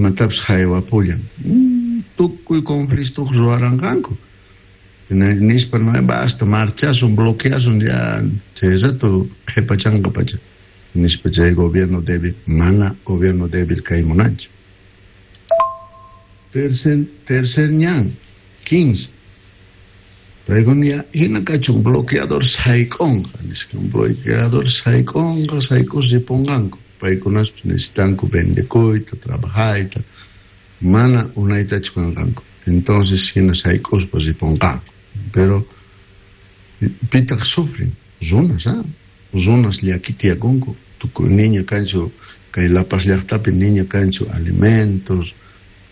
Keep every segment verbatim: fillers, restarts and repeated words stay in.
Imatapis haywapullan. Tukuy conflicto ruwaranqanku. Nispa no basta marchasun, bloqueasun ya chay rato qhipachanqa pacha. Nispa chay gobierno débil, mana gobierno débil kay munanchu. Tercer, tercer ñan, quince. Paykuna hina kachun bloqueador sayk'unqa, nisqa bloqueador sayk'unqa, sayk'us ripunqanku. Paykunaspis necesitanku vendekuyta, trabajayta, mana unaytachu kanqanku. Entonces hina sayk'uspa ripunqanku. Pero pitaq sufren, runas, ah, runas llaki tiyakunku. Tukuy niña kanchu, kay La Paz llaqtapi niña kanchu alimentos,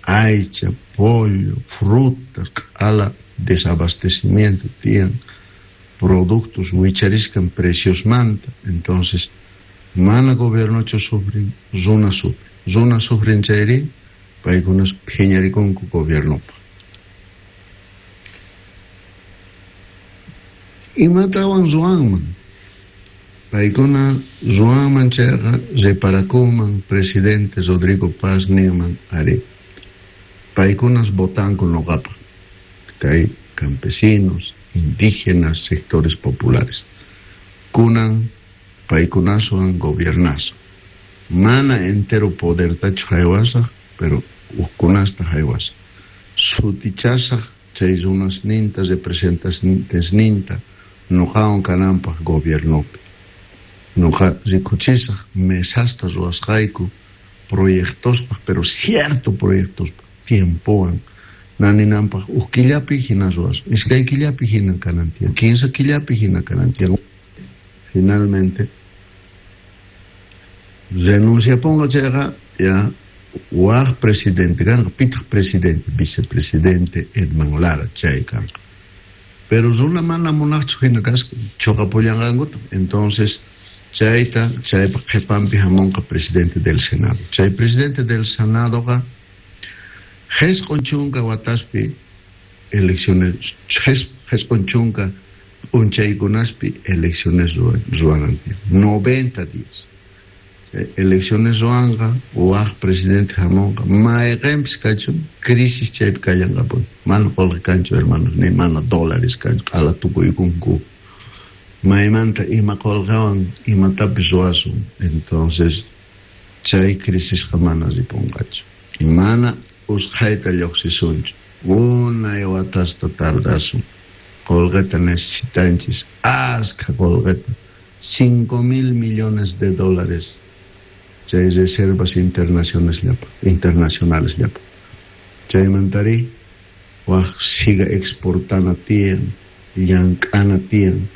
aycha, pollo, frutas, q'ala desabastecimiento tiyan, productos wichariskan preciosmanta. Entonces, mana gobiernochu sufren, runa sufren. Runa sufren chayri, paykunas phiñarikunku gobiernopaq. Imatawan ruwanman? Paykuna ruwanman chayqa reparakunman presidente Rodrigo Paz ninman ari. Paykunas votanku noqapaq. Kay campesinos, indígenas, sectores populares. Kunan paykunaswan gobiernazo. Mana entero podertachu haywasaq, pero hukkunasta haywasaq. Sutichasaq chay runasninta, representantesninta, noqawan kananpaq gobiernopi. Noqa rikuchisaq mesasta ruwasqayku proyectospaq, pero cierto proyectospaq, tiempowan. Naninanpaq huk killapi hina ruwasun, iskay killapi hina kanan tiyan, kinsa killapi hina kanan tiyan. Finalmente renunciaponqa chayqa ya waj presidente kanqa, pitaq presidente, vicepresidente Edman Lara chay kanqa. Pero runa mana munaqchu hina kasqa, choqapullanqankuta. Entonces chayta chaypaq qhipanpi hamunqa presidente del Senado. Chay presidente del Senadoqa Jesq'un chunka wataspi elecciones, jesq'un chunka p'unchaykunaspi elecciones ruwanan tiyan, noventa días. Elecciones ruwanqa, waj presidente hamunqa, mayqinpis kachun, crisis chaypi kallanqapuni. Mana qolqe kanchu, hermanos, ni mana dólares kanchu, q'ala tukuykunku. Maymanta ima qolqewan imatapis ruwasun. Entonces, chay crisisqa mana ripunqachu. Mana usqhayta lluqsisunchu. Unay watasta tardasun. Qolqeta necesitanchis, askha qolqeta. Cinco mil millones de dólares chay reservas internacionales llapa, internacionales llapa. Chaymantari waj siga exportana tiyan, llank'ana tiyan.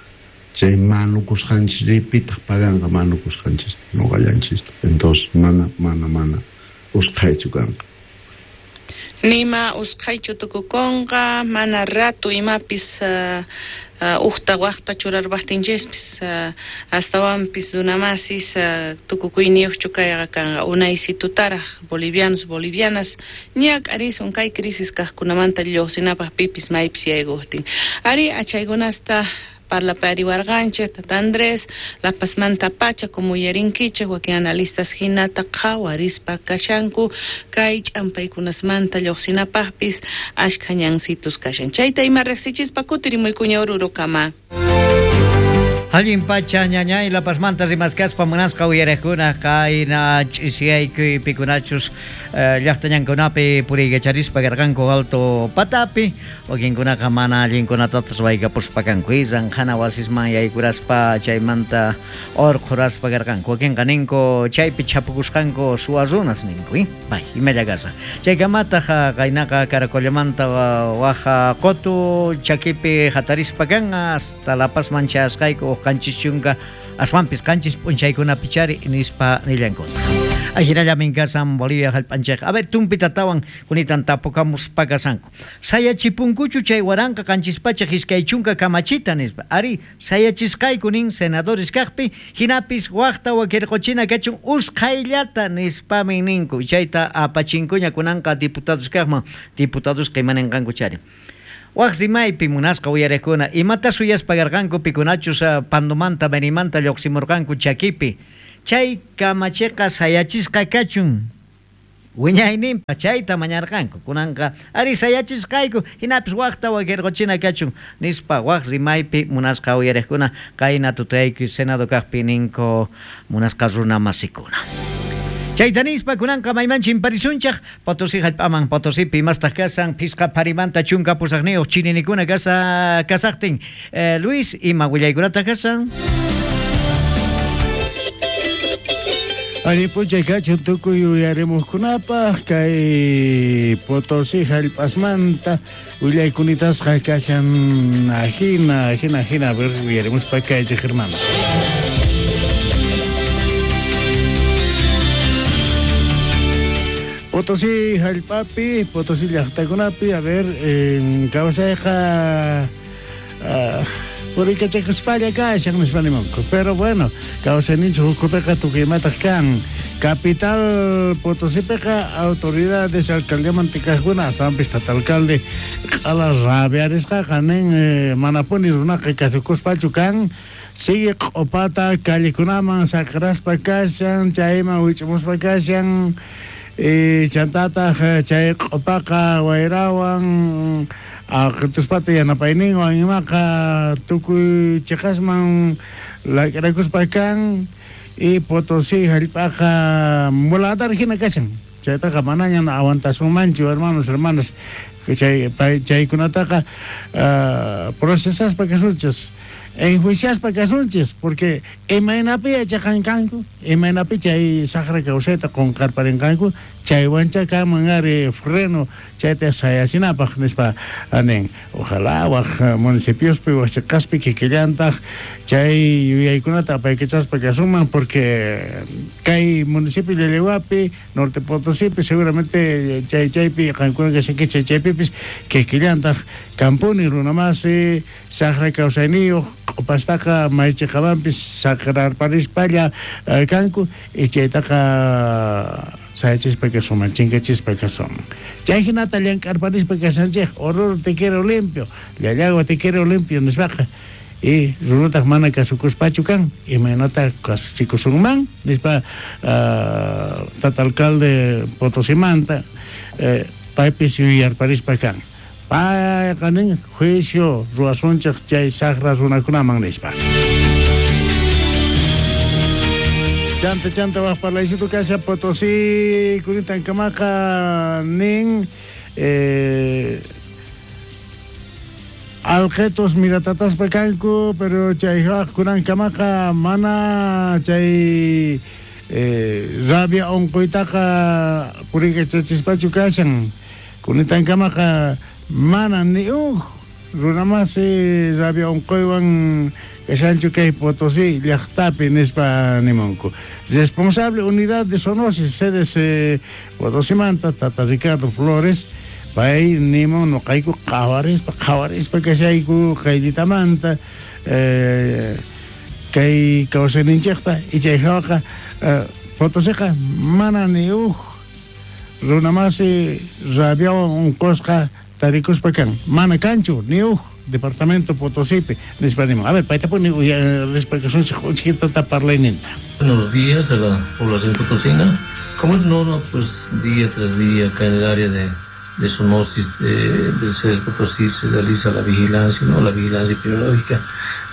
Chay manukusqanchis pitaq paganqa manukusqanchista, noqallanchista. Entonces mana, mana, mana usqhaychu kanqa. Nima usqhaychu tukukunqa, mana ratu imapis uh, uh, uqta waqta churarpaqtinchispis uh, astawanpis runamasis uh, tukukuyniyuqchu kayqa kanqa unaysitutaraq bolivianos bolivianas ñak'arisun kay crisis kaqkunamanta lluqsinapaq pipis maypis yaykuqtin. Ari achaykunasta parlapariwarqanchik Tata Andrés, La Pazmanta pacha como uyarinkichik wakin analistas hinata qhawarispa kashanku kay ch'ampaykunasmanta lluqsinapaqpis ashkha ñansitus kashan. Chayta ima riqsichispa kutirimuykuña Orurokama. Allin pacha ñañay La Pazmanta rimaskaspa munasqa uyariqkuna qayna ch'isiyaykuy pikunachus llaqtañankunapi puriykacharispa karqanku alto patapi wakinkunaqa mana allinkunatatas waykapuspa kanku ranqhana wasisman yaykuraspa chaymanta urqhuraspa karqanku wakinqa ninku chaypi chapukusqanku suwa runas ninku bay imalla kasqa chaykamataq qaynaqa Caracollamanta waja qutu chakipi hatarispa kan hasta La Pazman chayasqayku qanchis chunka aswanpis qanchis p'unchaykunapi chari nispa nillankuta. Ajinallamin kasan Bolivia hallp'anchikqa. A ver, tumpitatawan kunitan tapukamuspa kasanku. Sayachipunkuchu chay waranqa qanchis pachak iskay chunka kamachita nispa. Ari, sayachisqayku nin senadores kaqpi, hinapis waqta wakirquchina kachun usqhayllata nispamin ninku. Chayta apachinkuña kunanqa diputados kaqman, diputados imaninqanku chari. Waj rimaypi munasqa uyariqkuna imata suyaspa karqanku pikunachus Pandomanta Benimanta lluqsimurqanku chakipi chay kamachiqa sayachisqa kachun Wiñayninpa chayta mañarqanku kunanqa ari sayachisqayku hinapis waqta wakirquchina kachun nispa waq rimaypi munasqa uyariqkuna qayna tutayku Senado kaqpi ninku munasqa runa masikuna. Chayta nispa kunanqa mayman chimparisunchaq Potosí hallp'aman Potosipi imastaq kasan phisqa pharimanta chunka pusaqniyuq chininikuna kasa kasaqtin. Eh, Luis, ima willaykunataq kasan? Allin p'unchay kachun tukuy uyarimuqkunapaq kay Potosí hallp'asmanta willaykunatasqa kashan ajina ajina ajina a ver uyarimuspa kaychik hermano. Potosí hallp'api, Potosí llaqtakunapi, a ver, en kawsayqa uh, purikachakuspalla kashan nispa nimunku. Pero bueno, kawsayninchik ukhupiqa tukuy imataq kan. Capital Potosípiqa autoridades alcaldiamanta kaqkuna astawanpis tata alcalde q'ala rabiarisqaqa nin eh, manapuni runaqa kasukuspachu kan. Sigue q'upata callekunaman saqraspa kashan, chayman wich'umuspa kashan. Eh, chantataq chay q'upaqa wayrawan aqtuspata yanapayninwan imaqa tukuy chiqasman lak'irakuspa kan y Potosí hallp'aqa muladar hina kashan chaytaqa manaña aguantasunmanchu hermanos hermanas chay chaykunataqa uh, procesaspa kasunchis enjuiciaspa kasunchis porque imaynapi yachaqankanku imaynapi chay saqra kawsayta qunqarparinqanku chaywancha kanman ari freno chayta sayasinapaq nispa nin ojalá waq municipiospi waq chiqaspi kikillantaq chay yuyaykunata apaykachaspa kasunman porque kay municipio Llallagüapi Norte Potosípi seguramente chay chaypi qankuna kashankichik chay chaypipis kikillantaq kampuni runamasi saqra kawsayniyuq q'upastaqa maychiqamanpis saqrarparispalla kanku y chaytaqa sayachispa kasunman chinkachispa kasunman chay hinata llank'arparispa kashanchik Oruro te quiero limpio Llallagua te quiero limpio nispaqa y runataq mana kasukuspachu kan imaynata kasuchikusunman nispa uh, tata alcalde Potosimanta eh, paypis yuyarparispa kan payqa nin juicio ruwasunchik chay saqra runakunaman nispa. Chanta chanta waq parlaysitu kasha Potosí kunitankamaqa nin eh, alqetos miratataspa kanku pero chay waq kunankamaqa mana chay eh, rabia unquytaqa purikachachispachu kashan kunitankamaqa mana ni uj runamasi rabia unquywan kashanchu kay Potosí llaqtapi nispa nimunku. Responsable unidad de zoonosis C D C Potosimanta tata Ricardo Flores pay nimun nuqayku qhawarispa qhawarispa kashayku qayllitamanta eh, kay kawsayninchikta y chay hawaqa eh, Potosiqa mana ni uj runamasi rabiawan unqusqa tarikuspa kan mana kanchu ni uj departamento Potosípi nispa nimun. A ver, paytapuni rispa kasunchik uchkitata parlayninta. Buenos días a la población potosina. Como es norma, pues día tras día acá en el área de, de zoonosis de, del C D S Potosí se realiza la vigilancia, ¿no? La vigilancia epidemiológica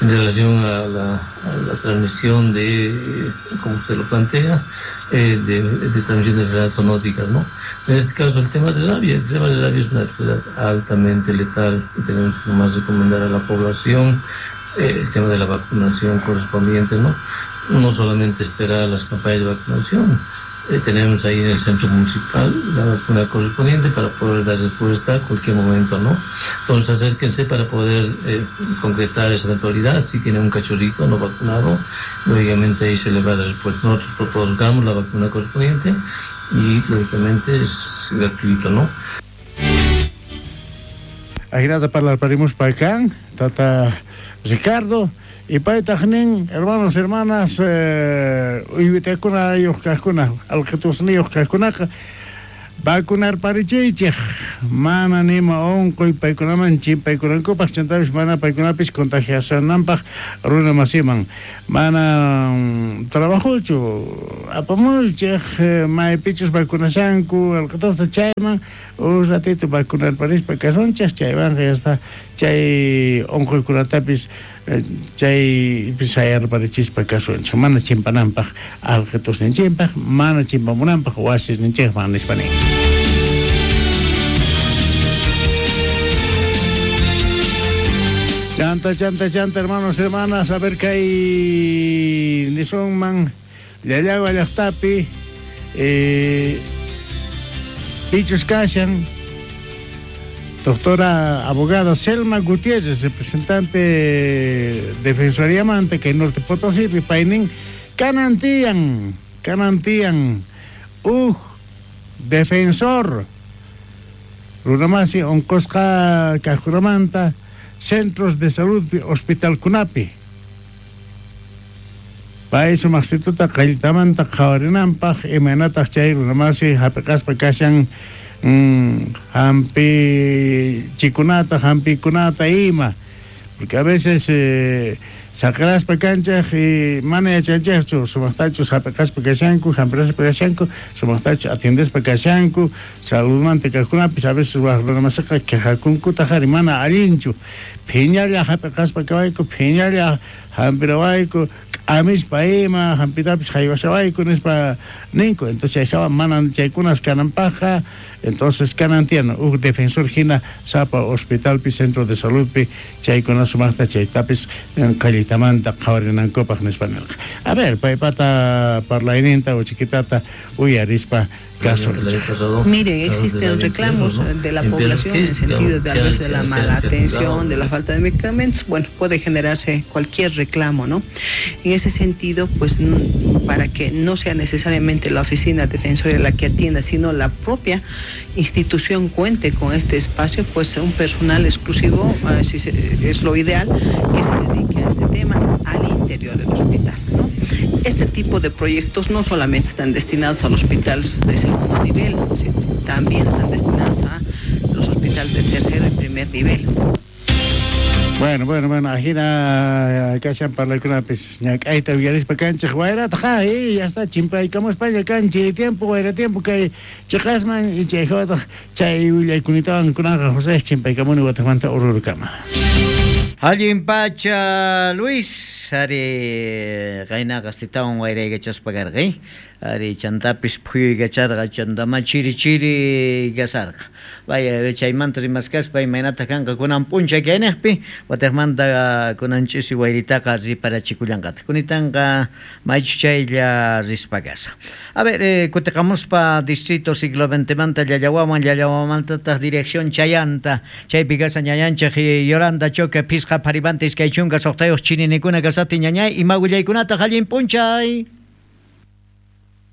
en relación a la, a la transmisión de, como usted lo plantea, eh, de, de transmisión de enfermedades zoonóticas, ¿no? En este caso el tema de rabia, el tema de rabia es una enfermedad altamente letal y tenemos que nomás recomendar a la población eh, el tema de la vacunación correspondiente, ¿no? No solamente esperar las campañas de vacunación. Eh, tenemos ahí en el centro municipal la vacuna correspondiente para poder dar respuesta a cualquier momento, ¿no? Entonces acérquense para poder eh, concretar esa eventualidad. Si tiene un cachorrito no vacunado, lógicamente ahí se le va a dar respuesta. Nosotros otorgamos la vacuna correspondiente y lógicamente es gratuito, ¿no? Ajinata parlarparimos acá, tata Ricardo. Y paytaq nin, hermanos, hermanas, eh, uywitakuna yuq kaqkuna, alqitusniyuq kaqkunaqa, Vacunarparichiychej mana nima onqoy paykunaman chimpaykunankupaq chantapis mana paykunapis contagiasananpaq runa masiman mana trabajochu apamuychej maypichus vacunashanku alqatusta chayman un ratito vacunarparispa kasunchej chaywanqa ya está chay onqoykunatapis chay sayarparichispa kasunchej mana chimpananpaq alqatusninchikpaq mana chimpamunanpaq wasisninchikman nispa nin. Chanta, chanta, chanta, hermanos, hermanas, a ver kay nisunman Llallagua llaqtapi eh, pichus kashan doctora abogada Selma Gutiérrez, representante Defensoría Manta, que Norte Potosí, paynin kanantiyan, kanantiyan, uj, defensor, runamasi onqosqa kajkunamanta, centros de salud, hospital kunapi. Pay sumaqsituta qalltamanta qhawarinanpaq imaynataq chay runamasi hapiqaspa kashan mm, hampi chikunata, hampikunata ima. Porque a veces eh, saqeraspa kanchaj y mana yachanchejchu sumaqtachus hapiqaspa kashanku, hampiraspa kashanku, sumaqtachu atiendespa kashanku, saludmanta kajkunapis a veces waj runamasiqa quejakunkutaq ari mana allinchu. Phiñalla hapiqaspa kawayku, phiñalla hampirawayku, k'amispa ima, hampitapis haywashawayku nispa ninku. Entonces chayjawa mana chaykunas kananpaqqa, entonces kanan tiyan uj defensor hina sapa hospitalpi, centro de saludpi chaykuna sumaqta chaytapis qallitamanta qhawarinankupaq nispa nirqa. A ver, paypata parlayninta uchiquitata uyarispa kasunchik. Miren, existen reclamos de la población en sentido de tal vez de la mala atención, de la falta de medicamentos. Bueno, puede generarse cualquier reclamo, ¿no? En ese sentido, pues para que no sea necesariamente la oficina defensoria la que atienda, sino la propia institución cuente con este espacio, pues un personal exclusivo, eh, si se, es lo ideal, que se dedique a este tema al interior del hospital, ¿no? Este tipo de proyectos no solamente están destinados a los hospitales de segundo nivel, sino también están destinados a los hospitales de tercero y primer nivel. Bueno, bueno, bueno, ajina kashan parlaykunapis ñak'ayta uyarispa kanchej wayrataqa, eh, ya está, chimpaykamuspaña kanchik tiempo, wayra tiempo kay chiqasman y chayjawataq chay willaykunatawan kunanqa José chimpaykamuni wataqmanta ururukama. Allin pacha Luis, ari qaynaqa sitawan wayraykachaspa karqa, ari chantapis phuyuykacharqa, chantama chiri chiri kasarqa. Vaya, chaymanta rimaskaspa imaynataq kanqa kunan p'unchay kayniqpi, wataqmanta kunan ch'isi wayritaqa riparachikullanqataq. Kunitanqa maychu chaylla rispa kasaq. A ver, eh, kutiqamuspa distrito siglo veintemanta Llallawaman, Llallawamantataq dirección Chayanta, chaypi kasa ñañanchej Yolanda Choque phisqa pharipanta iskay chunka suqtayuq chininikuna kasati ñañay, ima willaykunataq allin p'unchay.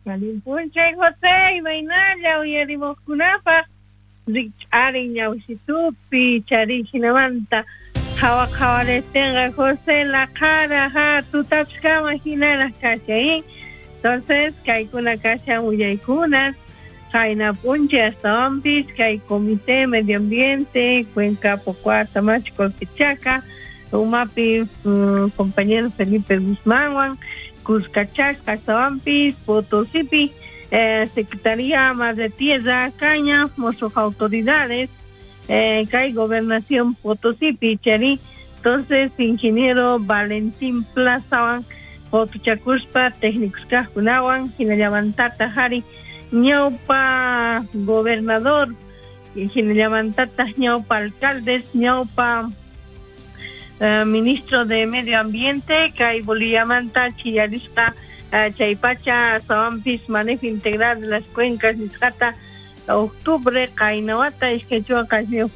Allin p'unchay José, imaynalla uyarimuqkunapaq rikch'arin ñawsitupi charin hinamanta qhawa qhawaristinqa José laqhara ha tutapis kama hinaraq kashan. Entonces kaykuna kashan willaykunas qayna p'unchay astawanpis kay Comité Medio Ambiente Cuenca Pocua Tamachi Colquechaca umapi um, compañero Felipe Guzmánwan Cuscachasca astawanpis Potosipi eh, Secretaría Madre Tierra Caña mosos autoridades eh, kay Gobernación Potosipi chari. Entonces ingeniero Valentín Plazawan Potuchakuspa técnicos kajkunawan hinallamantata hari ñawpa gobernador hinallamantata ñawpa alcaldes ñawpa Uh, ministro de Medio Ambiente, kay Boliviamanta chillarisqa uh, chaypacha astawanpis manejo integral de las cuencas nisqata octubre qaynawata iskay chunka qanchis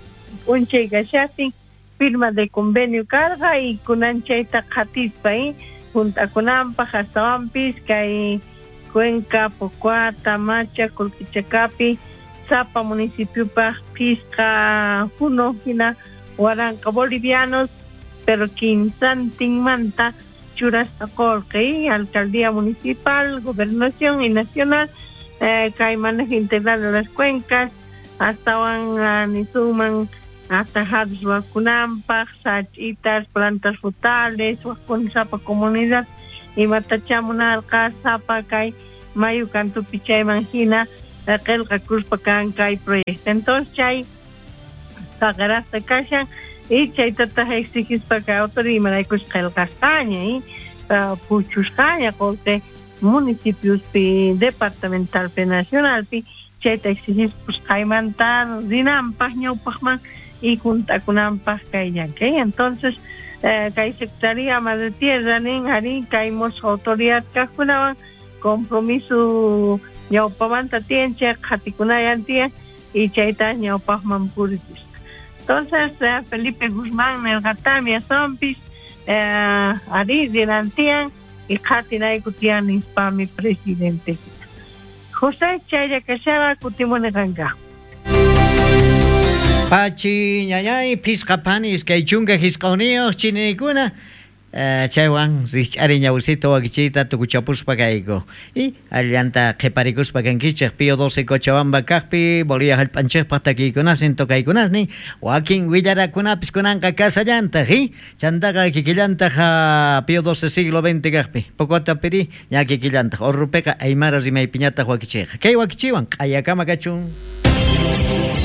p'unchay kashaqtin firma de convenio karqa y kunan chayta qhatispa eh, juntakunanpaq astawanpis kay Cuenca, Pocua, Tamacha, Colquichacapi, sapa municipiopaq phisqa huno hina waranqa bolivianos pero quinsantinmanta churasqa qolqe, alcaldía municipal, gobernación y nacional, eh, kay manejo integral de las cuencas astawan uh, nisunman atajados wakunampaj sachitas plantas frutales wakun sapa comunidad imatacha munarqa sapa kay mayu kantupi chayman hina qillqakuspa kan kay proyecto. Entonces chay saqarasta kashan y chaytataq exigispa kay autoridad imaraykus qillqasqaña y puchusqaña qolqe municipiospi departamentalpi nacionalpi chayta exigispa qaymanta rinanpaq ñawpaqman y juntakunanpaq kay llank'ay. Entonces eh, kay Secretaría Madre Tierra nin arí kay musuq autoridad kaqkunawan compromiso ñawpamanta tiyan chay qhatikunayan tiyan y chayta ñawpaqman purichisqa. Entonces eh, Felipe Guzmán nirqatami asunpis eh, arí rinan tiyan y qhatinayku tiyan nispami presidente José chaylla kashara kutimuni qanka. Pachi ñañay pisqa panis kay chunka hisqawniyuq chinikuna Uh, chaywan rikch'ari ñawsita wakichiyta tukuchapuspa kayku y allanta qhiparikuspa kankichik Pío doce Cochabamba kaqpi Bolivia hallp'anchikpaq takiykunasnin tokaykunasnin wakin willarakunapis kunanqa kasallantaq y chantaqa kikillantaq Pío doce siglo veinte kaqpi Pocota piri ña kikillantaq Orrupiqa aymara rimaypiñataq wakichiyqa kay wakichiwan q'ayakama kachun.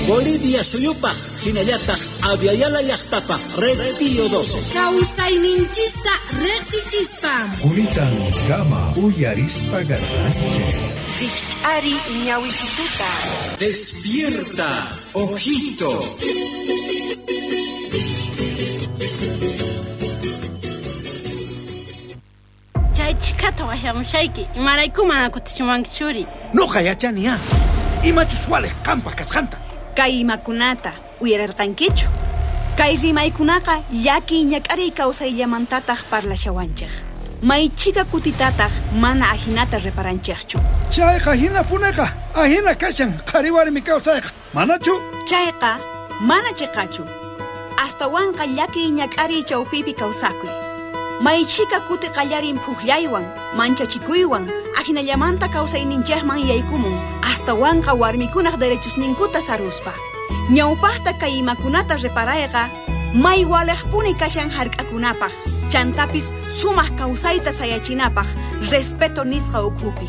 Bolivia suyupaj, hinallataq Aviala llaqtapaj, Red Pío doce. Kawsayninchista riqsichispa. Kunitan kama uyarispa garranche. Rikch'ari ñawisituta. Despierta, ojito. Chay chikata waqyamushayki, imarayku mana kutichiwanki churi. Nuqa yachani ah, imachus waliq qampaq kasqanta. Kay imakunata uyararqankichu. Kay rimaykunaqa llaki ñak'ariy kawsayllamantataq parlashawanchik. Maychika kutitataq mana ahinata reparanchikchu. Chayqa hinapunaqa ahina kashan qhari warmi kawsayqa manachu? Chayqa mana chiqachu. Astawanqa llaki ñak'ariy chawpipi kawsakuy. Maychika kuti qallarin phuqllaywan, manchachikuywan, ahinallamanta kawsayninchikman yaykumun, astawanqa warmikunaq derechosninkuta saruspa. Ñawpaqta kay imakunata reparayqa, may waliqpuni kashan hark'akunapaq, chantapis sumaq kawsayta sayachinapaq, respeto nisqa ukhupi.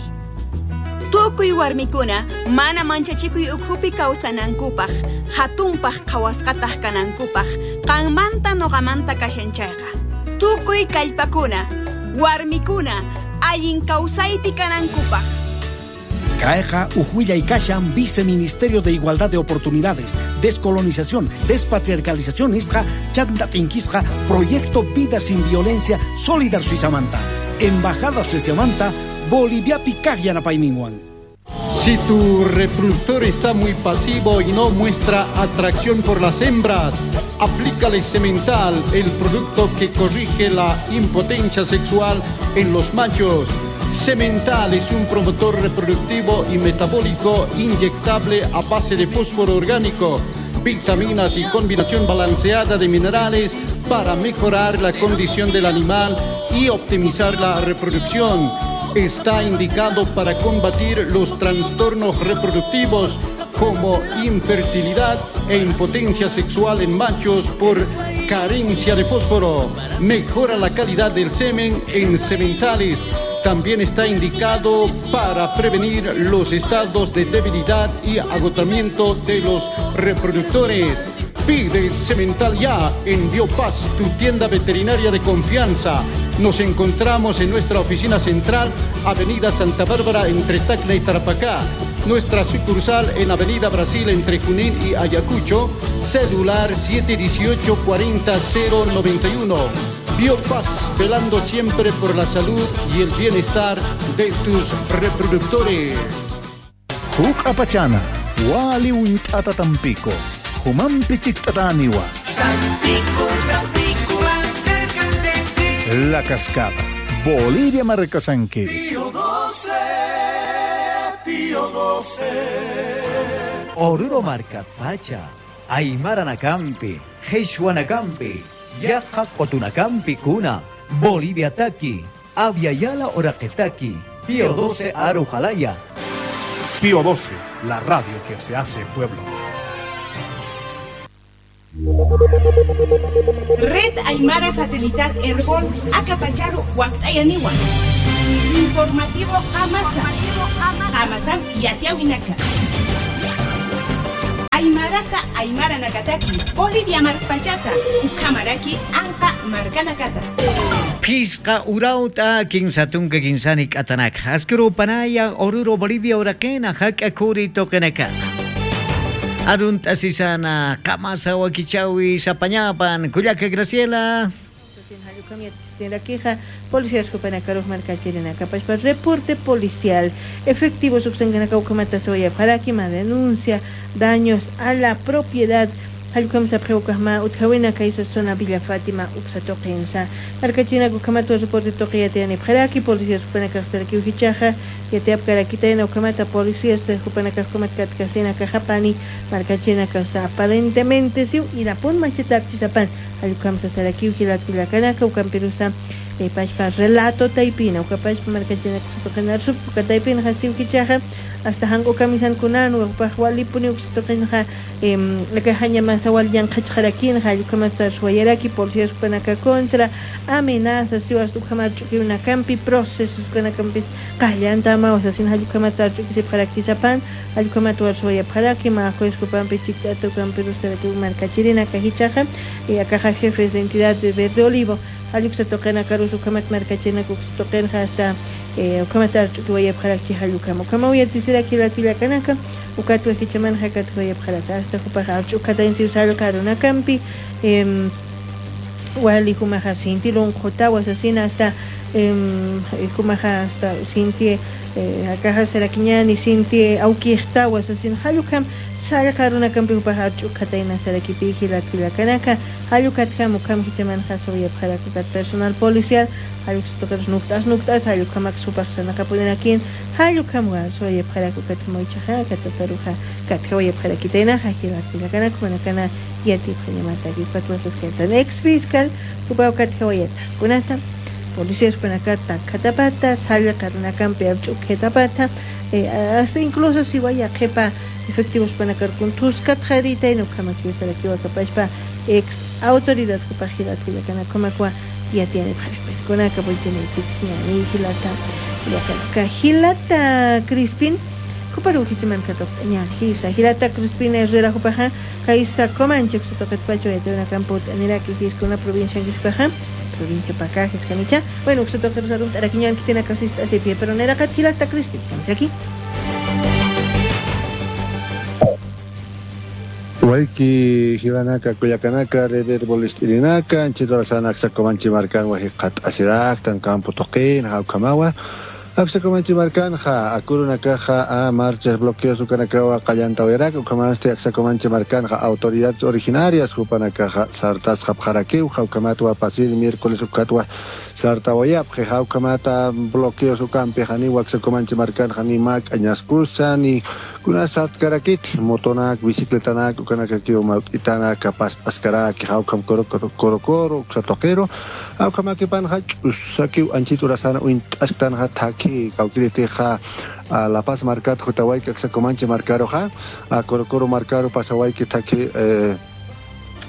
Tukuy warmikuna mana manchachikuy ukhupi kawsanankupaq, hatunpaq qhawasqataq kanankupaq, qanmanta nuqamanta kashan chayqa. Tukuy kallpakuna, warmikuna, allin kawsaypi kanankupaq. Caeja Ujuilla y Kashan, Viceministerio de Igualdad de Oportunidades, Descolonización, Despatriarcalización, Isja, Chanda Tinquisja, Proyecto Vida Sin Violencia, Solidar Suizamanta, Embajada Suizamanta, Bolivia Picaj Yanapayminwan. Si tu reproductor está muy pasivo y no muestra atracción por las hembras, aplícale Semental, el producto que corrige la impotencia sexual en los machos. Semental es un promotor reproductivo y metabólico inyectable a base de fósforo orgánico, vitaminas y combinación balanceada de minerales para mejorar la condición del animal y optimizar la reproducción. Está indicado para combatir los trastornos reproductivos como infertilidad e impotencia sexual en machos por carencia de fósforo. Mejora la calidad del semen en sementales. También está indicado para prevenir los estados de debilidad y agotamiento de los reproductores. Pide Semental ya en Biopaz, tu tienda veterinaria de confianza. Nos encontramos en nuestra oficina central, Avenida Santa Bárbara, entre Tacna y Tarapacá. Nuestra sucursal en Avenida Brasil, entre Junín y Ayacucho. Celular siete dieciocho, cuarenta, cero noventa y uno. Biopaz, velando siempre por la salud y el bienestar de tus reproductores. Huk apachana, wali untata tampico, humampi chiktataniwa. Tampico, Tampico, acércate. La Cascada, Bolivia Marcasanquiri. Pío doce, Pío doce. Oruro Marcapacha, Aymara Nacampi, Jesuanacampi, Yaqa Cotunacampi Kuna, Bolivia Taki, Aviala Oraqetaki, Pío doce Arujalaya. Pío doce, la radio que se hace pueblo. Red Aymara Satelital Herbol, Acapacharu, Huactayaniwa. Informativo Amasa. Amasan y Atiawinaka. Aymarata Aymara Nakataki, Bolivia Marpachata, Ukamaraki, Anka Markanakata. Pisqa urauta kinsatunka kinsani k'atanak. Askuru panaya Oruro Bolivia urakena hak'a kuri tokenaka. Arun tasisana kamasa wakichawi sapañapan Cuyaca Graciela. Policías Jupanakaruj Marcachirina Capashpa reporte policial efectivos Uxanganakaukamata denuncia daños a la propiedad Halukam sapjewkajma utjawina kaysa zona Villa Fátima uksatoqinsa markachina kukamatu reporte toqiyatiani pjaraki policías jupanakaj ujichaja yatiapkarakitayna ukamata policías jupanakajkumat katkasina kajapani markachina kasa aparentemente siu irapun machetapchisapan halukam sasaraki ujilatpilakanaka ukampirusa pashpa relato taipina ukapashpa markachina kusatoqinarsup ukataipina jasiu kichaja hasta hango kamisan kunan ukapaj walipuni uksatoqinja akajaña masawal yanqachqarakin hallukamata suayaraki policías upanaka contra amenazas siwas ukamarch'ukiunakampi procesos kanakampis qallantama wasasin hallukamata arch'ukisipqarakisapan hallukamata warsuayapqaraki majueskupanpi chikt'atukampi rusaraki markachirina kajichaja y akaja jefes de entidad de Verde Olivo halluksatoqina karus ukamat markachina kuksatoqinja hasta ukamata arch'ukiwayapqarakchi hallukama ukama uyatisiraki latvillakanaka ukatu ejichaman hakatuwayapqaraka hasta jupaja arch'ukatainsi usallqa runakampi wali jumaja sinti lunqutawas asina hasta jumaja hasta sinti akaja sarakiñani sinti awkiqtawas asina hallukam sallqa runakampi jupaja arch'ukatayna sarakipi latvillakanaka hallukatjam ukam hichaman jasuyapqaraka personal policial hallukstoqeros nuktas nuktas hallukamak supaq sanaqapurinakin hallukam suyapqaraka katmoychaja katataruja katjawayapqarakitayna jajilatvillakanaka manakana yatipqañamataki patwasasqantan ex fiscal upaw katjawayata kunata policías panakata katapata sallqa runakampi arch'ukhetapata hasta incluso si vaya qhipa efectivos panakarkun tuskat jarita nukamakiusarakiwa kapashpa ex autoridad kupajilatvillakanaka yatiani pjarikkunaka pulchinaykichis ñani hilata llakanaka hilata Crispin kuparu hichiman katoq ñan hisa hilata Crispin Herrera jupaja kaysa Comanche uksatoqetpacho yatiunakampu t'aniraki hiskuna provincia anquispaja provincia Pacajes kanicha bueno uksatoqerusarun t'arakiñan kitina kasista asipia pero neraqat hilata Crispin aquí. Waiki Jibanaka, Cuyacanaka, Reder Bolistirinaka, Anchitorasana, Axacomanchi Marcan, Wajicat Asirak, Campo Toquín, Jaucamawa, Axacomanchi Marcan, Ja, Acurunakaja, a marchas, bloqueos, Ucanakawa, Callanta Oerak, Ucamaste, Axacomanchi Marcan, Ja, autoridades originarias, Jupanakaja, Sartas, Japjaraquiu, Jaucamatua, Pasil, miércoles, Ucatua, Sartahuayap, Jaucamata, bloqueos, Ucampi, Janiwa, Axacomanchi Marcan, Janimac, Añascusa, ni kuna sartkarakit, motonak, bicicletanak, ukanakakio mautitanak, kapas askarak, jaukam koro koro koro, uksatoquero, aukamaki panja, usakiu anchiturasana, uintasktan taki, kaukiriteja, a La Paz marcat, Jutahuayca, Axacomanche marcaro ja, a Coro Coro marcaro, Pasahuayque, taki, eh,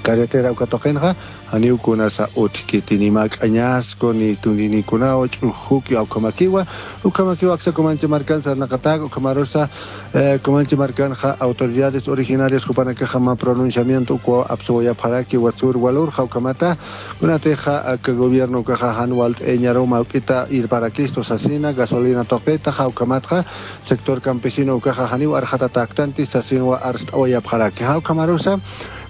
carretera ukatoqenja aniukuna sa utkitinimak añasco ni tuninikunao ch'ujuki awkamakiwa ukamakiwa Axacomanche marcan sarnaqataq ukamarosa eh, Comanche marcanja autoridades originarias jupanakaja ma pronunciamiento uko apsoyapjaraki wasur walur jaukamata kunateja que gobierno kaja hanwalt eñaroma ukita irparaquisto sasina gasolina toqeta jaukamatja sector campesino ukaja haniu arjata tactanti sasinwa arstawayapjaraki jaukamarosa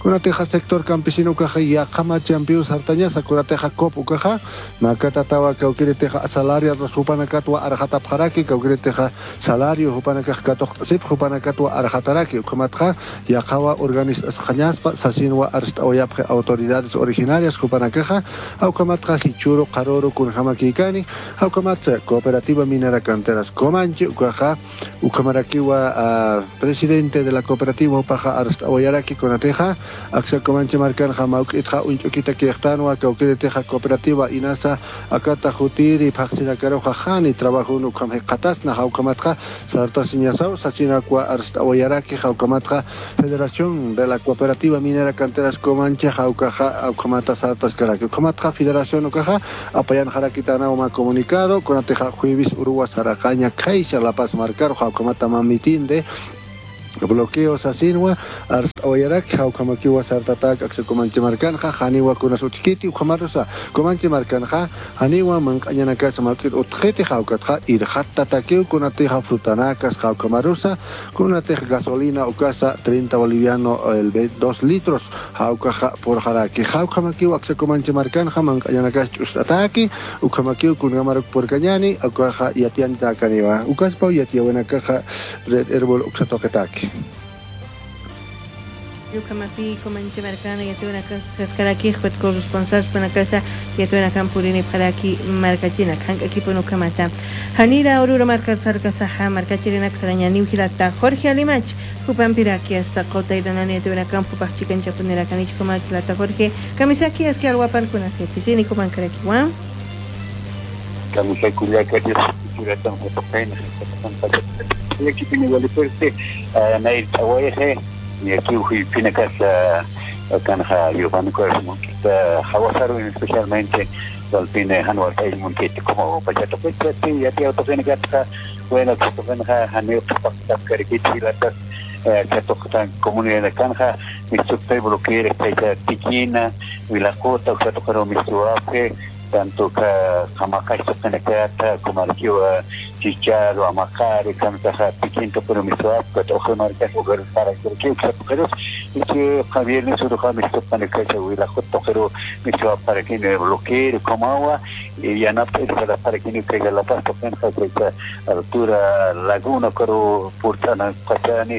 kunateja sector campesino kaja yaqama champions hartañasa kunateja cop ukaja makata tawa kawkiriteja salario jupanakatwa arjatapjaraki kawkiriteja salario jupanakaj katoqsip jupanakatwa arjataraki ukamatja yaqawa organizasqañaspa sasinwa arstawayapje autoridades originarias jupanakaja awkamatja hichuro qaroro kunjamakikani awkamatja cooperativa minera canteras Comanche ukaja ukamarakiwa uh, presidente de la cooperativa upaja arstawayaraki kunateja Aksa Comanche markanja mawk'itqa unch'ukita kiqtanwa kawkiritiqa cooperativa inasa akata jutiri phaqsinakaruqa hani trabajo ukham qatasna hawkamatqa sartasiñasaw sachinakwa arstawayaraki hawkamatqa Federación de la Cooperativa Minera Canteras Comanche hawkaja hawkamata sartas karaki ukamatqa Federación ukaja apayan harakitana uma comunicado konateja jueves uruwa saraqaña kayxa La Paz markaro hawkamata mamitinde bloqueos asinwa arstawayarak hawkamakiwa sartatak aksa Comanche markanja haniwa kunas utqiti uqamarusa Comanche markanja haniwa manq'añanakas mark'it utqiti hawkatqa irhatta takiw kunatija frutanakas hawkamarusa kunatij gasolina ukasa treinta boliviano el dos litros hawkaja por jaraki hawkamakiwa aksa Comanche markanja manq'añanakas ch'ustataki uqamakiw kungamaruk porkañani ukaja yatiantakaniwa ukaspa yatiawanakaja red herbol uksatoqetaki. Yucamapi, Comanche Marcana, Yatuna Cascaraki, corresponsal Panacasa, Yatuna Campurini, Paraki, Marcachina, Hank Equipo Nucamata, Hanira, Oruro, Marca Sarcasaja, Marcachirina, Xaraña, Newgilata, Jorge Alimach, Jupan Piraki, hasta Cota y Danani, Yatuna Campo, Pachican, Chapunera, Canich, Comaquilata, Jorge, Camisaki, Esquialhuapan, Cunasieti, Coman Caraquihuán. Camisaculiaca, Churatan, Jotopena, Nair Tahueje, y aquí Pinacas Canja Giovanni Monquita Jaguasaru especialmente Alpine Hanuar Monquita como Pachato Pecha y a ti Autofena bueno Tofena Haneo Cariquita Chatotan comunidad de Canja Mistupte bloquear Tiquina Vilacota Oxatocaro Mistuape tanto que Jamacay Topenacata como Arquiwa Chicharo, Amacare, Cantaja, Piquinto, pero Misuap, Ojo Marcas, Ojo para que Ojo y que Javier Nisuruja, Mistopanecacha, Huilajoto, pero Misuap para que no bloquee, como agua, y ya no para que no caiga la paz, Topenja, altura Laguna, pero Purtana, Pachani,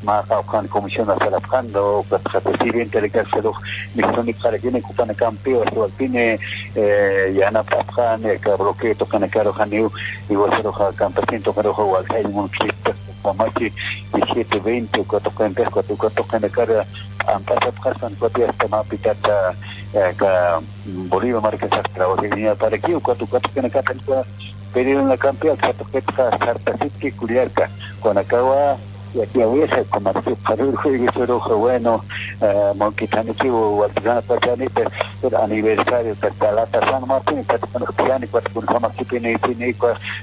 Maja, Ojan, Comisión, Salapjando, Presidente de Cárcel, Mistoni, para que no ocupan campeo, Alpine, Yana Papjan, bloqueo, Tocanacaro, Janiu, igual campesino pero igual hay un Comachi diecisiete veinte cuatro cuarenta cuatro cuatro cara ampasa cuatro hasta mapitata ka Bolivia marca trabajo para aquí cuatro cuatro que acá pero en la campea cuatro que sartasitki Culiaca con acaba y aquí a veces como el bueno Monquitanichi o Altana Pachanita el aniversario de Talata San Martín Catano cuatro con Jamachipini Pini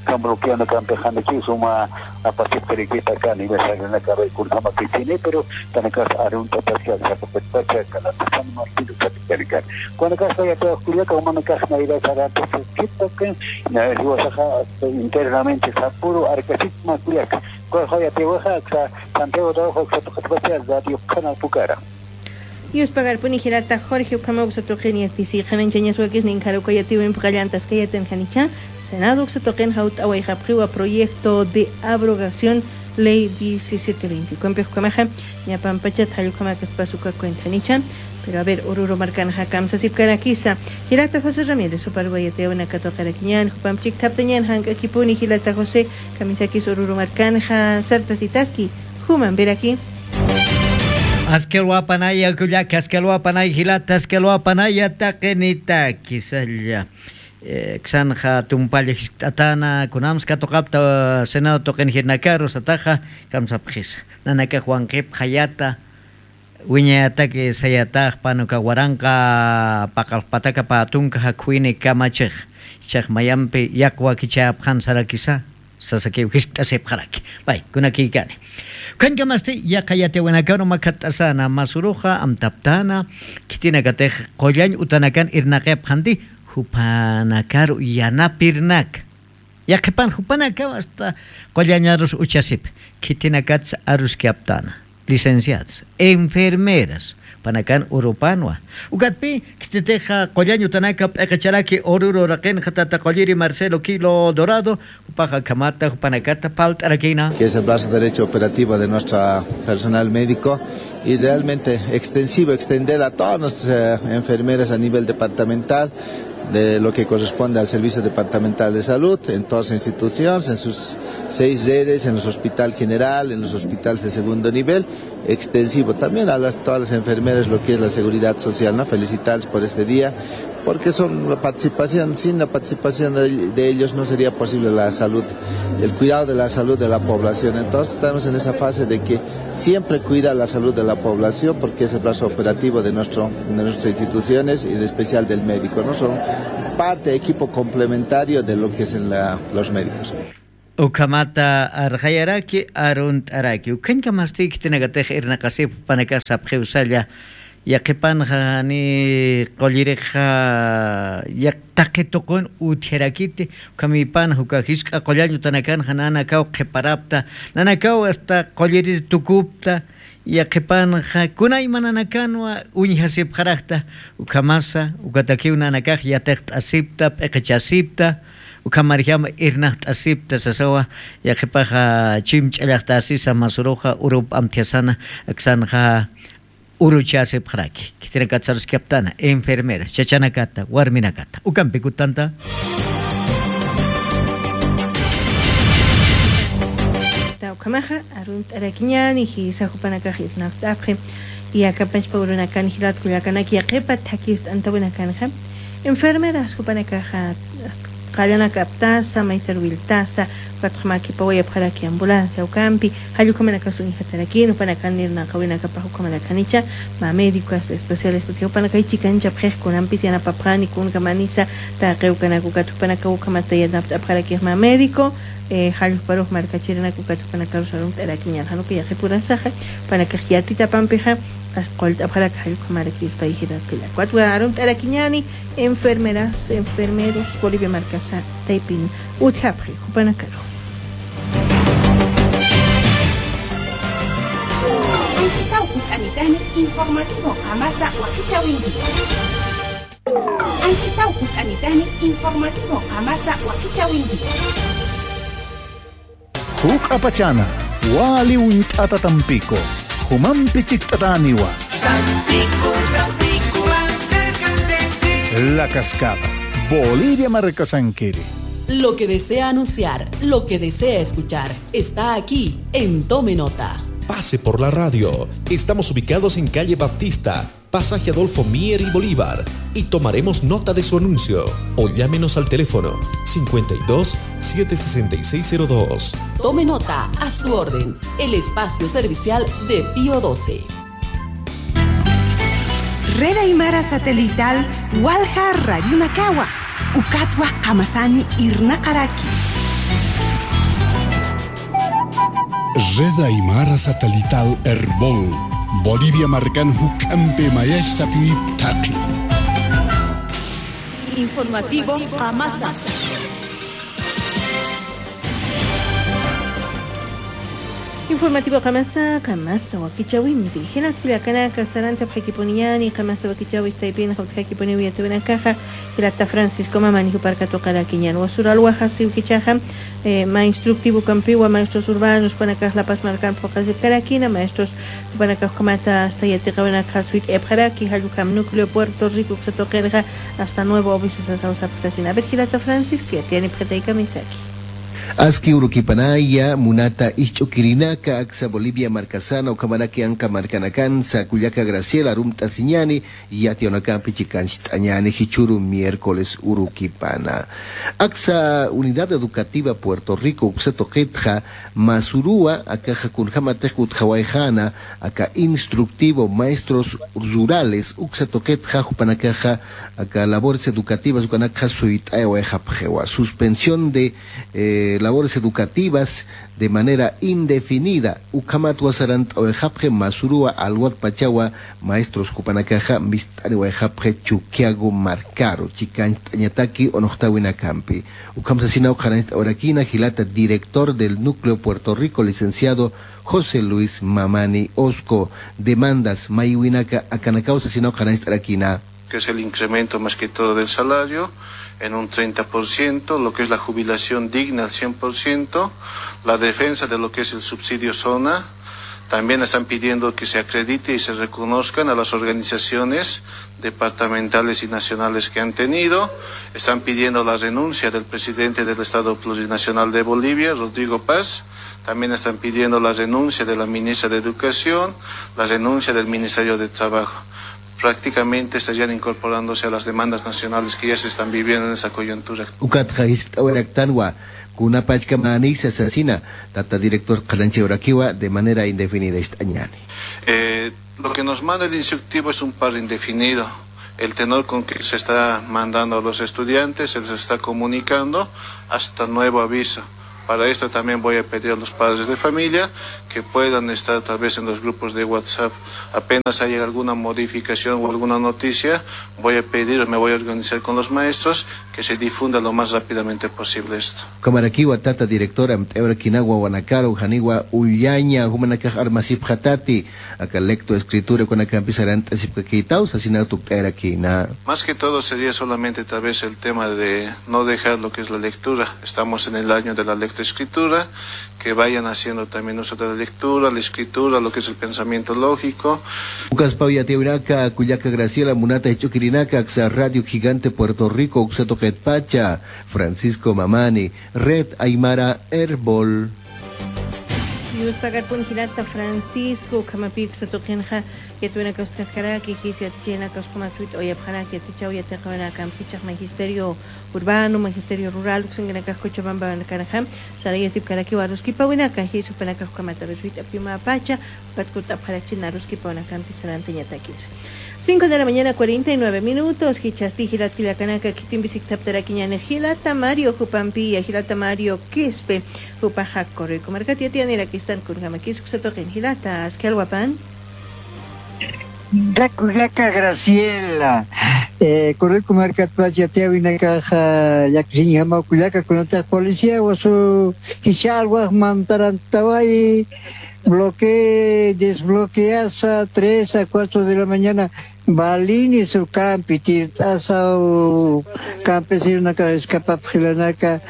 Cambroquiano Campejanichi suma a partir de que acá aniversario en la cabeza con Jamachipini pero también arunta parcial Chapapacha Calata San Martín Catacarica cuando casa ya todo Culiaca humano casa naira Sarate Quito que internamente Sapuro Arcasitma Culiaca Santiago de Canal Pucara. Yus pagar punijirata Jorge Ucamau Satoqen Yatisi Hanan Chañasuakis Ninjarucayatiwin Pqallantas Kayaten Janicha Senado Satoqen Haut Awayjapjiwa Proyecto de Abrogación Ley diecisiete veinte. Cuempejucamaja Ñapampachat Hayucamacas Pasuca Cuentanicha. Pero a ver, Oruro Marcanja Kamsa Sipcaraquisa, Gilata José Ramírez, Suparguayateuna Catoqaraquiñan, Jupamchik Taptañan, Hanka Kipuni, Gilata José, Kamisakis Oruro Marcanja, Sartasitaski, Juman Veraki. Asqueluapanaya, Culiaca, Asqueluapanay, Gilata, Asqueluapanaya, Taquenita, Quisalla. Xanja Tumpalla, Tatana, Kunamska, Tocapta, Senado Toquen Girnacaro, Sataja, Kamsapjis, Nanaka Juan Kep, Hayata. Wiñayataki sayataq panuka waranqa paqalpataka patunka hakwini kamachej chaq mayampi yaqwa kichapqan sarakisa sasakiw hisk'asipqaraki bay kunakikani kankamasti yaqayatiwanakano makat'asana masuruja amtaptana kitina katej qollañ utanakan irnaqepqanti jupanakaru yanapirnak yaqhipan jupanaka hasta qollañarus uchasip kitinakats aruskiaptana licenciadas, enfermeras, panakan urupanwa. Ugatpi, kiteteja qollaño tanaka p'eqacharaki oruro raqen jatata qolliri Marcelo Kilo Dorado, upaja kamata panakata paltarakina. Que es el brazo derecho operativo de nuestro personal médico y realmente extensivo, extender a todas nuestras eh, enfermeras a nivel departamental. de lo que corresponde al Servicio Departamental de Salud en todas las instituciones, en sus seis redes, en los hospital general, en los hospitales de segundo nivel, extensivo también a las, todas las enfermeras lo que es la seguridad social, ¿no? Felicitarles por este día, porque son la participación, sin la participación de, de ellos no sería posible la salud, el cuidado de la salud de la población. Entonces estamos en esa fase de que siempre cuida la salud de la población, porque es el brazo operativo de, nuestro, de nuestras instituciones y en especial del médico, ¿no? Son parte, equipo complementario de lo que es en la, los médicos. Ukamata arjayaraki arunt'araki ukanka mastiki tinakatej irnaqasip panakasa pjiusalla yaqipanja ni qolliriqa yaqtaqituqun utjerakiti ukamipanja ukajisq'a qollañu tanakanja nanakaw qhiparapta nanakaw hasta qollirir tukupta yaqipanja kunay mananakanwa uñjasipjaraqta ukamasa ukatakiw nanakaj yatejt'asipta p'eqichasipta ukamarjama irnaqt'asipta sasawa yaqipaja chimch'allaqtasisa masuruqa urup amtiasana aksanja uruchasipjaraki kitira kaptana enfermera chachanakata warminakata ukampi kutanta Ukamaja arunt'arakiñani hisajupanakaj irnaqt'apqi yakapachpa urunakani hilat kullakanaki yaqipa thakis t'antawinakanja enfermeras jupanakaja qallanakaptasa maysarwiltasa patqmakipa wayapjaraki ambulancia ukampi hallukamanakasu injatarakinu panakanirnaqawinakapaj ukamanakanicha ma médicos especiales tukiupanakaychikancha pjejkunampis yanapapjani kunkamanisa taqewkanakukatu panakawukamata yanapt'apjarakiq ma médico eh halluparuj markachirinaku katupanakaru arunt'arakiñan hanuka yaqipurasaja panakaj yatita pampija qolt'apjaraka hallukamaraki hiratqillakuatwa arunt'arakiñani enfermeras enfermeros Bolivia markasa taypin utjapji jupanakaru. Anchitaw kut'anitani informativo qamasa wakichawinki. Anchitaw kut'anitani informativo qamasa wakichawinki. Huk apachana, wali unt'ata tampico, humampi chikt'ataniwa. Tampico, Tampico, acércate. La Cascada, Bolivia Marcasanquiri. Lo que desea anunciar, lo que desea escuchar, está aquí en Tome Nota. Pase por la radio. Estamos ubicados en calle Baptista, pasaje Adolfo Mier y Bolívar, y tomaremos nota de su anuncio. O llámenos al teléfono cincuenta y dos, setecientos sesenta y seis cero dos. Tome nota, a su orden, el espacio servicial de Pío doce. Red Aymara Satelital, Walja Radio Nakawa, Ukatwa Hamasani Irnakaraki. Red Aymara Satelital Herbol, Bolivia marcan hukampe mayashta piptaqi. Informativo Amasa. Informativo Kamasa, Kamasa wakichawinti. Hinat Culiacanaca, Saranta Pjaquiponiani, Kamasa wakichawi, Taipin, Jaquiponi, Yatunacaja, Hilata Francisco Mamani, Juparcatocaraquiñan, Wasuralwaja, Siuquichaja, eh, ma instructivo campiwa, maestros urbanos, Panacaj, La Paz, Marcan, Pocas de Caraquina, maestros Panacaj, Comata, hasta Yatecahuanaca, Suit, Ebjaraki, Jalujam, Núcleo, Puerto Rico, Xatoquerja, hasta Nuevo Obispo, Sasausa, Pasasina. A ver, Hilata Francisco, ya tiene Pjetaica Misaki. Aski urukipanaya munata isch'ukirinaka aksa Bolivia markasana ukamaraki anka markanakan sakuyaka Graciela arumta siñani yationakampi chikanchit'añani hichuru miércoles urukipana. Aksa Unidad Educativa Puerto Rico uxeto qitja masurua akaja kunjamatej utjawaijana aka instructivo maestros rurales uxeto qitja jupanakaja aka labores educativas ukanaka suit'ayawayjapjewa suspensión de eh, labores educativas de manera indefinida. Ukamatwa sarant oejapje masurua alwat pachawa maestros kupanakaja mistani oejapje chukiago marcaro chicantañataki onohtawinacampi. Ukamsasina ojaranista orakina gilata director del núcleo Puerto Rico licenciado José Luis Mamani Osco. Demandas mayuinaka akanakausa sina ojaranista orakina. Que es el incremento más que todo del salario en un treinta por ciento, lo que es la jubilación digna al cien por ciento, la defensa de lo que es el subsidio zona, También están pidiendo que se acredite y se reconozcan a las organizaciones departamentales y nacionales que han tenido. Están pidiendo la renuncia del presidente del Estado Plurinacional de Bolivia, Rodrigo Paz. También están pidiendo la renuncia de la ministra de Educación, la renuncia del Ministerio de Trabajo. Prácticamente estarían incorporándose a las demandas nacionales que ya se están viviendo en esa coyuntura. Kunapachka manisa asesina, tata director Calanche Uraquiwa, de manera indefinida estañani. Eh, lo que nos manda el instructivo es un paro indefinido. El tenor con que se está mandando a los estudiantes, se les está comunicando hasta nuevo aviso. Para esto también voy a pedir a los padres de familia que puedan estar tal vez en los grupos de WhatsApp. Apenas haya alguna modificación o alguna noticia, voy a pedir, me voy a organizar con los maestros que se difunda lo más rápidamente posible esto. Kamarakiwa tata directora Mteurakinagua Wanakaro Janiwa Ullaña Humanakaj Armasip Jatati acá lecto escritura con acá empezarán Sipkaquitaus Asinatukterakina. Más que todo sería solamente tal vez el tema de no dejar lo que es la lectura. Estamos en el año de la lectura escritura, que vayan haciendo también uso de la lectura, la escritura, lo que es el pensamiento lógico. Ucas Pauya Teuraka, Cuyaca Graciela, Munata Echuquirinaca, Axa Radio Gigante Puerto Rico, Uxato Pacha, Francisco Mamani, Red Aymara Herbol. Yus pagar Hilata Francisco, Kamapik Satokenja, Yatuena Costascaraki, Gisiachena Coscomatsuit, Oyapjana, Yatichau, Yatejuana, Campichas, Magisterio Urbano, Magisterio Rural, Uxenganacas, Cochabamba, Nacarajam, Sarayasip Karaki, Waruskipa, Winaka, Jisupanaka, Kamatarusuit, Apima Pacha, Patkuta, Parachina, Ruskipa, Campi, Saranteñataquis. cinco de la mañana, cuarenta y nueve minutos. Hichasti, Gilat, Gilacanaka, Kitimbisictaptaraquiñane, Gilata Mario, Jupampía, Gilata Mario, Quispe, Jupajac, Corrico, Marcatia, Tianera, Quistan, Kurgamakis, Uxatoquen, Gilata, Askelwapan. Rakulaka Graciela, eh, Corrico, Marcatpacha, Tiawinakaja, Yaxinjama, Kulaka, Kunata, Policía, Wasu, Quichalguas, Mantarantaway, bloquee, desbloqueasa, tres a cuatro de la mañana. Balini su campi, tirtasa o campesino naka escapapjilanaka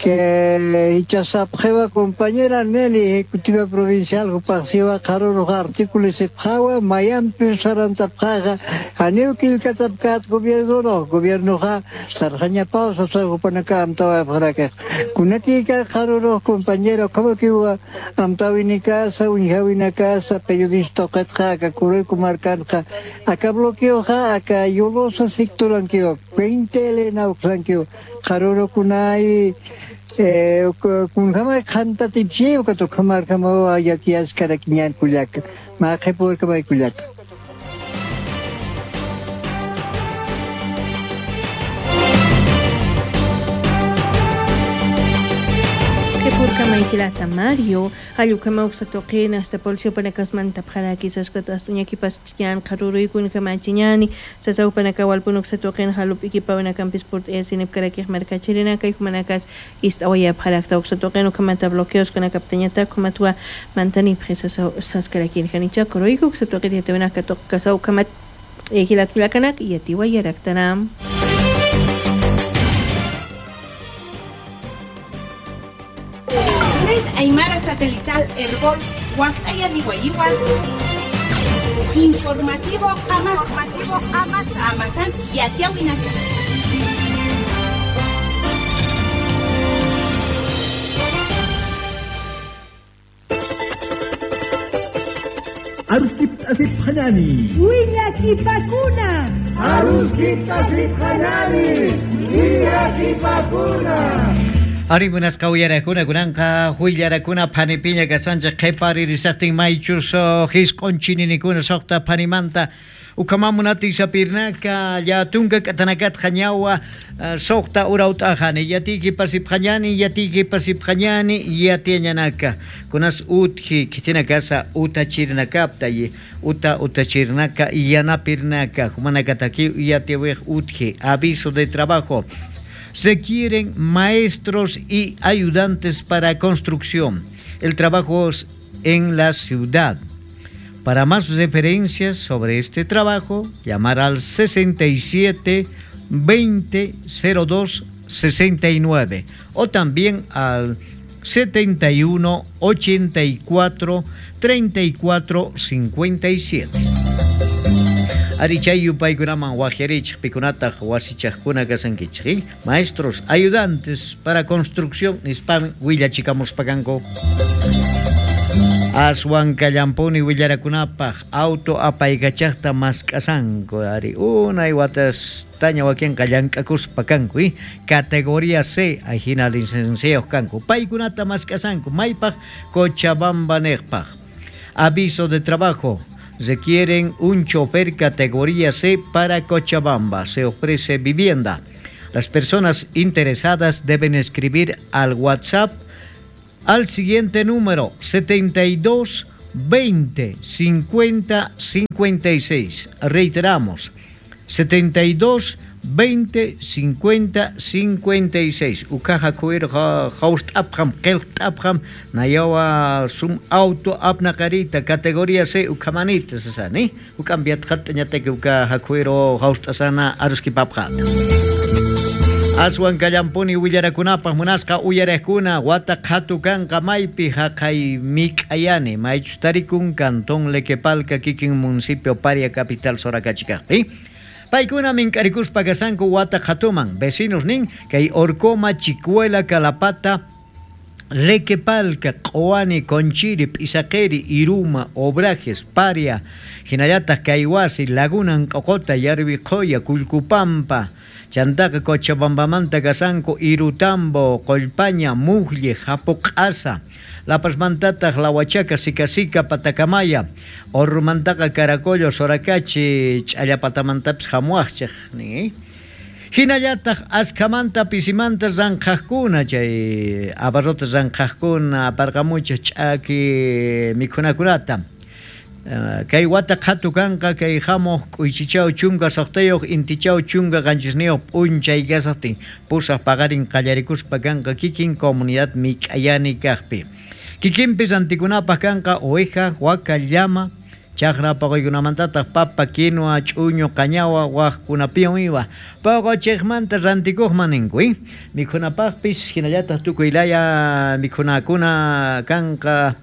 que hichasapjeva compañera Nelly, ejecutiva provincial, jupasiva, jaruro artículos sepjawa, mayampi sarantapjaja, aniukilkatapkat gobierno no, gobierno ja, sarjaña pausa, sarjupanaka amtawa pjaraka. Kunatika jaruro compañero, como que hubo amtawini casa, unjawina casa, periodista qatjaka, kureku markanja, acá bloqueo ja, acá yolosa sectoranqueo, veinte elena uxanqueo, jaruro kunai, eh, kunjama kantaticheo, katokamarkama ayatias karakiñan kulaka, majeporkamay kulaka. Hilata Mario, Ayukama Uxatoqena, hasta Policio Panacasmanta Pjaraki, Sascuato Astuñaquipas Chiñan, Jaruruikun Jamachiñani, Sasau Panacawalpun Uxatoqen, Jalupiki Pavanacampis Port Esinep Caraquij Marcachirinaca y Jumanacas, Istahuaya Pjaracta Uxatoqen, Ucamata bloqueos con la Captañata, Comatua, Mantani, Sascaraquin, Janicha, Coroico, Uxatoqen, Yatevenaka, Casau, Camat, Hilatulacanak, y Atihuayaractanam. Aymara Satelital Herbol, Huactaya Nihuayigual. Informativo Amasa. Amazán y Atiahuinaca. Aruskip asip hanani. Wiñakipakuna. Aruskip asip hanani. Wiñakipakuna. Ari buenas kauyarakuna kunanqa huillarakuna phanipiña kasanchik qhiparirisaqtin maychus hisq'unchininikuna suqta phanimanta ukamamunati sapirnaka llatunka k'atanakatqa ñawa suqta urawt'aqani yatiyki pasipqañani yatiyki pasipqañani yatiañanaka kunas utji kitina kasa utachirnakapta y uta utachirnaka yanapirnaka humanakataki yatiwiq utji aviso de trabajo. Se quieren maestros y ayudantes para construcción. El trabajo es en la ciudad. Para más referencias sobre este trabajo, llamar al sesenta y siete veinte cero dos sesenta y nueve o también al setenta y uno ochenta y cuatro treinta y cuatro cincuenta y siete. Ari chay yupaykunaman wajyarichik pikunataq wasichaqkuna kasankichik, maestros, ayudantes para construcción nispan willachikamuspakanku. Aswan kallampuni willarakunapaq auto apaykachaqta mask'asanku ari unay watastaña wakinqa llank'akuspa kanku, eh? Categoría C ajina licenciados kanku paykunata mask'asanku maypaq Cochabamba neqpaq. Aviso de trabajo: requieren un chofer categoría C para Cochabamba. Se ofrece vivienda. Las personas interesadas deben escribir al WhatsApp al siguiente número: setenta y dos veinte cincuenta cincuenta y seis. Reiteramos, setenta y dos veinte cincuenta cincuenta y seis. Ukaja kuir host apjam kelkt apjam nayawa sum auto apnakarita categoría C ukamanita sasani ukambiat khatñateke ukaja kuiro host asana aruski papjat. Aswan kallampuni willarakunapaq munasqa uyaraqkuna wata qhatu kanqa maypi haqay mik'ayani maychus tarikun cantón Lequepalca kikin municipio Paria capital Soracachicaqpi. Paykuna mink'arikuspa kasanku wata qhatuman vecinos nin kay Orcoma, Chicuela, Calapata, Lequepalca, Q'uani, Conchiri, P'isaqiri, Iruma, Obrajes, Paria, hinallataq Kayhuasi, Laguna Nq'uqota, Yarviqhoya, Kullkupampa, Chantaqa Cochabambamanta kasanku Irutambo, Qollpaña, Mujlle, Japuq'asa, La Pazmantataq Lahuachaca, Sicasica, Patacamaya, Orrumantaqa Caracollo, Soracachi, Ch'allapatamantapis hamuaqchaq nin. Hinallataq askhamanta pisimanta ranqhaqkuna chay abarrota ranqhaqkuna aparqamuchaq ch'aki mikhunakunata. Kay wata qhatu kanqa kay hamuq k'uychichaw chunka suqtayuq intichaw chunka qanchisniyuq p'unchay kasaqtin pusaq paqarin qallarikuspa kanqa kikin comunidad mik'ayani kaqpi. Kikinpis antikunapaq kanqa oveja, waka, llama, chaqra paquykunamantataq papa, quinoa, ch'uñu, qañawa, waqkunapiwan iwa. Paqochiqmanta rantikuqman ninku, eh? Mikhunapaqpis hinallataq tukuy laya mikhunakuna kanqa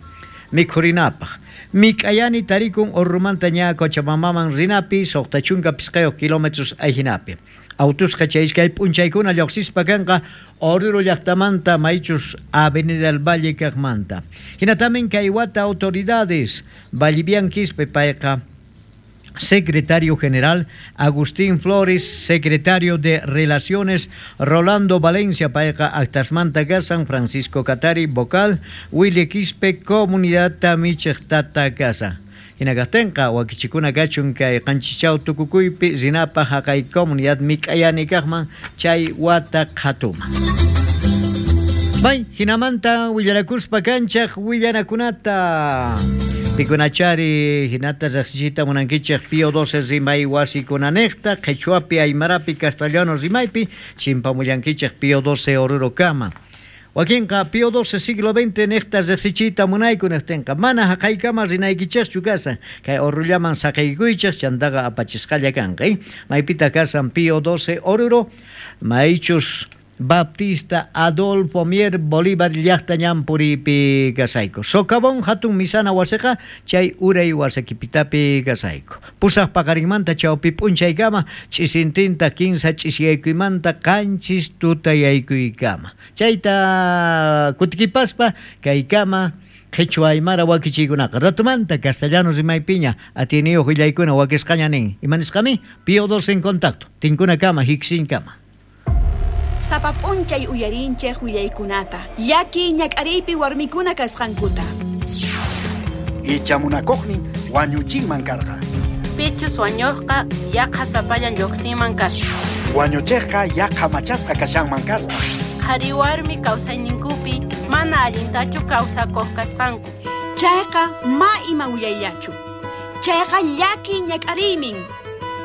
mikhurinapaq. Mik'ayani tarikun Orrumanta ña Cochabambaman rinapi suqta chunka pisqayuq kilómetros ayhinapi. Autusqa chay iskay p'unchaykuna lluqsispa kanqa Oruro llaqtamanta maychus Avenida del Valle kaqmanta. Hinatamin kay wata autoridades Vallivian Quispe payqa secretario general, Agustín Flores, secretario de Relaciones, Rolando Valencia payqa actasmanta kasan, Francisco Catari vocal, Willy Quispe comunidad tamichej tata kasa. Hinakaqtinqa wakichikuna kachun kay qanchichaw tukukuypi rinapaq haqay comunidad mik'ayani kaqman chay wata qhatuman. Bay, hinamanta willarakuspa kanchaq willanakunata. Pikunachari hinata riqsichiyta munankichik Pío doce rimay wasikunanejta qhichwapi aymarapi castellano rimaypi chimpamullankichik Pío doce Oruro kama. Wakinqa Pío doce siglo veinte nejta riqsichiyta munayku nejtinqa mana haqaykama rinaykichikchu kasan kay Orullaman saqaykuychik chantaqa apachisqalla kanqa. Maypita kasan Pío doce Oruro maychus Baptista Adolfo Mier Bolívar llaqta ñanpuripi kasayku. Socavón hatun misana wasiqa chay uray wasakipitapi kasayku. Pusaq paqarinmanta chawpi p'unchaykama ch'isintinta kinsa ch'isiyaykuymanta qanchis tutayaykuykama. Chayta kutikipaspa kaykama qhichwa aymara wakichiykunaqa ratumanta castellano rimaypiña atiniyuq willaykuna wakisqaña nin. Imanisqami Pío doce en contacto. Tinkunakama hiksinkama. Sapa p'unchay uyarinchej willaykunata llaki ñak'ariypi warmikuna kasqankuta. Icha munakuqnin wañuchinman karqa. Pichus wañuqqa yaqa sapallan lluqsinman kasqa. Wañuchiqqa yaqa machasqa kashanman kasqa. Qhari warmi kawsayninkupi mana allintachu kawsakuq kasqanku. Chayqa ma ima willayllachu. Chayqa llaki ñak'ariymin.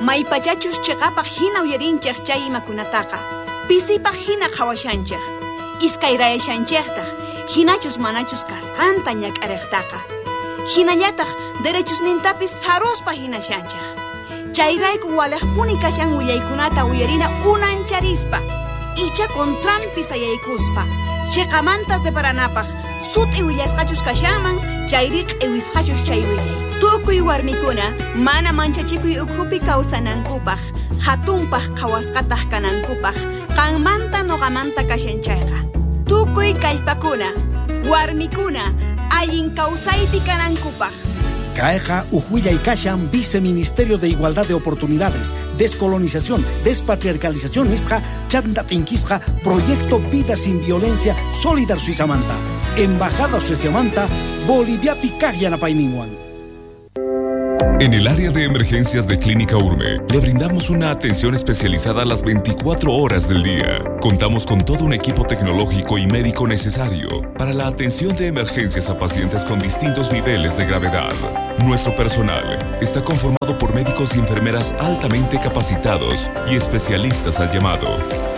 Maypachachus chiqapaq hina uyarinchej chay imakunataqa. Pisipaq hina qhawashanchej, iskayrayashanchejtaq, hinachus manachus kasqanta ñak'ariqtaqa. Hinallataq derechusnintapis saruspa hinashanchej. Chayrayku walejpuni kashan willaykunata uyarina unancharispa, icha contranpi sayaykuspa, chiqamanta separanapaq, sut'i willasqachus kashanman Chayri q'iwisqachus chay willay. Tukuy warmikuna mana manchachikuy ukhupi kawsanankupaq, hatunpaq qhawasqataq kanankupaq, qanmanta noqamanta kashan chayqa. Tukuy kallpakuna, warmikuna, allin kawsaypi kanankupaq. Kayqa uj kashan Viceministerio de Igualdad de Oportunidades, Descolonización, Despatriarcalización nisqa, chanta t'inkisqa, Proyecto Vida Sin Violencia, Solidar Suizamanta, Embajada Sueziamanta, Boliviapi kaq yanapayninwan. En el área de emergencias de Clínica Urme, le brindamos una atención especializada a las veinticuatro horas del día. Contamos con todo un equipo tecnológico y médico necesario para la atención de emergencias a pacientes con distintos niveles de gravedad. Nuestro personal está conformado por médicos y enfermeras altamente capacitados y especialistas al llamado.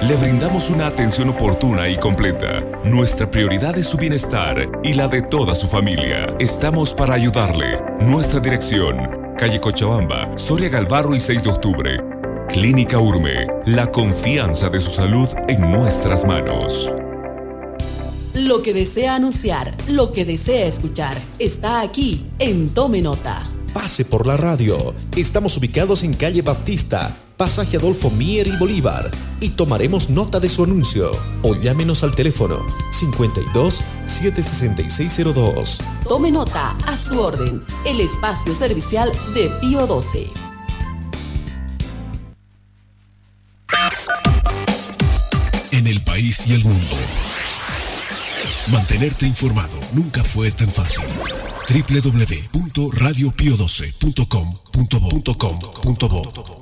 Le brindamos una atención oportuna y completa. Nuestra prioridad es su bienestar y la de toda su familia. Estamos para ayudarle. Nuestra dirección: calle Cochabamba, Soria Galvarro y seis de octubre. Clínica Urme, la confianza de su salud en nuestras manos. Lo que desea anunciar, lo que desea escuchar, está aquí en Tome Nota. Pase por la radio. Estamos ubicados en calle Baptista, pasaje Adolfo Mier y Bolívar, y tomaremos nota de su anuncio. O llámenos al teléfono cincuenta y dos, siete sesenta y seis cero dos. Tome nota, a su orden, el espacio servicial de Pío doce. En el país y el mundo, mantenerte informado nunca fue tan fácil. doble u doble u doble u punto radio pio doce punto com punto bo punto com punto bo.